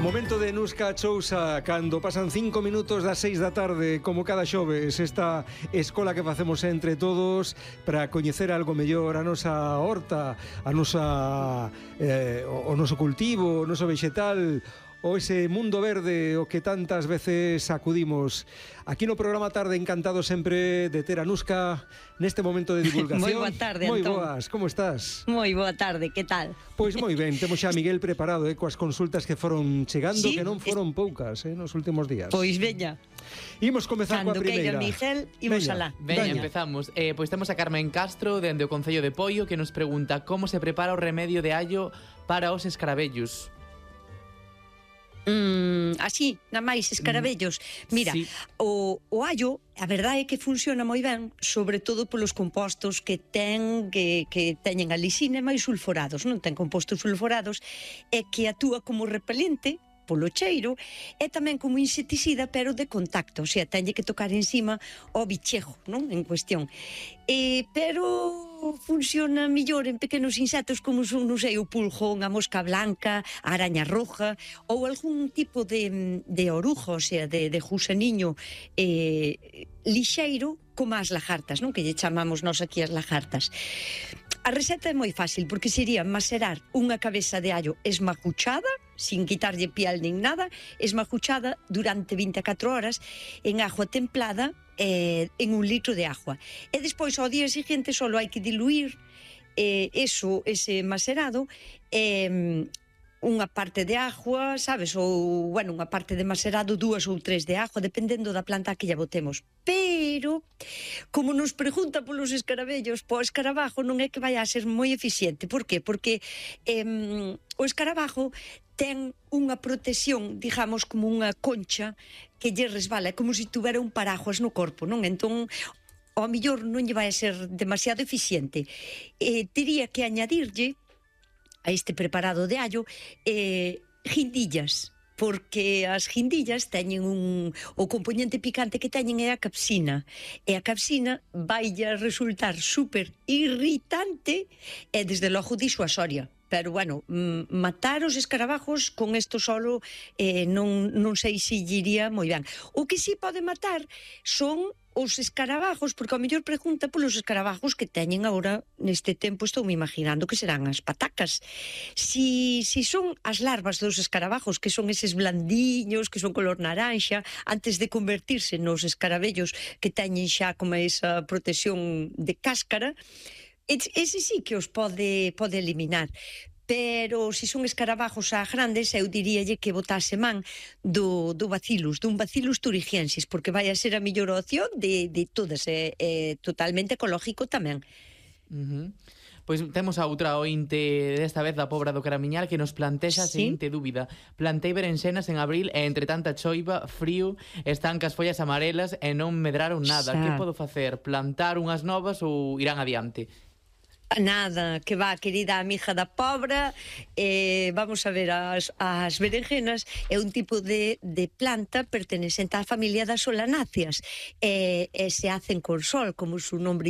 Momento de Nusca Chousa, cando pasan 5 minutos das 6 da tarde, como cada xoves, esta escola que facemos entre todos para coñecer algo mellor a nosa horta, a nosa o noso cultivo, o noso vexetal, o ese mundo verde o que tantas veces acudimos. Aquí no programa Tarde, encantado sempre de ter a Nusca neste momento de divulgación. Moi boa tarde, Moi Antón. boas, como estás? Moi boa tarde, que tal? Pois moi ben, temos xa a Miguel preparado coas consultas que foron chegando, Sí, que non foron poucas nos últimos días. Pois veña. Imos comezar coa Cando queira primeira. Miguel, imos Veña. alá. Veña, empezamos. Pois temos a Carmen Castro, dende o Concello de Poio, que nos pregunta como se prepara o remedio de allo para os escarabellos. Así, na máis escarabellos. Mira, Sí. o allo, a verdade é que funciona moi ben, sobre todo polos compostos que teñen a lisina e máis sulforados, non ten compostos sulforados, e que actúa como repelente polo cheiro e tamén como insecticida, pero de contacto, o sea, teñe que tocar encima o bichejo, non? En cuestión. Pero funciona mellor en pequenos insectos como son, non sei, o pulgón, a mosca blanca, a araña roja ou algún tipo de orujo, o sea, de gusaniño lixeiro, como as lagartas, non? Que lle chamamos nós aquí as lagartas. A receta é moi fácil, porque sería macerar unha cabeza de allo esmacuchada, sin quitarlle piel nin nada, esmacuchada durante 24 horas en agua templada, en 1 litro de agua. E despois, ao día seguinte, só hai que diluir ese macerado unha parte de agua, sabes, ou, bueno, unha parte de macerado, 2 ou 3 de agua, dependendo da planta que lla botemos. Pero, como nos pregunta polos escarabellos, po escarabajo non é que vai a ser moi eficiente. Por qué? Porque o escarabajo ten unha protección, digamos, como unha concha que lle resbala, é como se tuvera un paraguas no corpo, non? Entón, ao mellor non lle vai a ser demasiado eficiente. Tería que añadirlle a este preparado de allo guindillas, porque as guindillas teñen o componente picante que teñen é a capsina, e a capsina vai a resultar super irritante e desde logo disuasoria. Pero, bueno, matar os escarabajos con isto solo non sei se lle iría moi ben. O que sí pode matar son os escarabajos, porque ao mellor pregunta polos escarabajos que teñen agora neste tempo, estou me imaginando que serán as patacas. Si son as larvas dos escarabajos, que son eses blandiños, que son color naranxa, antes de convertirse nos escarabellos que teñen xa como esa protección de cáscara, ese sí que os pode eliminar. Pero se son escarabajos a grandes, eu diríalle que botase man dun Bacillus thuringiensis, porque vai a ser a mellor opción de todas, totalmente ecológico tamén. Pois temos a outra ointe, desta vez da Pobra do Caramiñal, que nos plantexa a seguinte dúbida. Plantei berenxenas en abril e entre tanta choiva, frío, están cas follas amarelas e non medraron nada. Que podo facer? Plantar unhas novas ou irán adiante? Nada, que va, querida amiga da Pobra, vamos a ver, as berenjenas é un tipo de planta pertenecente á familia das solanáceas, e se hacen con sol, como su nombre indica.